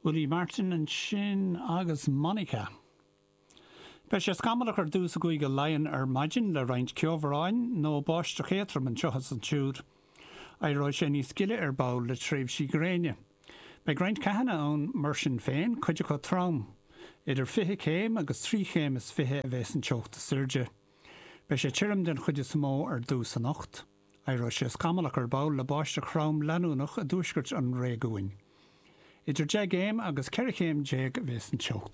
Willie Martin ansin agus Monica. Beidh sé scamallach ar dtús i gCúige Laighean ar maidin le roinnt ceobhráin nó báisteach éadrom anseo is ansiúd. Éireoidh sé níos gile ar ball le tréimhsí gréine. Beidh roinnt ceathanna ann mar sin féin, cuid acu trom. Idir 20 céim agus 23 chéim a bheas an teocht is airde. Beidh sé tirim den chuid is mó ar dtús anocht. Éireoidh sé scamallach ar ball le báisteach throm leanúnach i dtuaisceart an réigiúin. Idir 10 gcéim agus 14 chéim a bheas an teocht.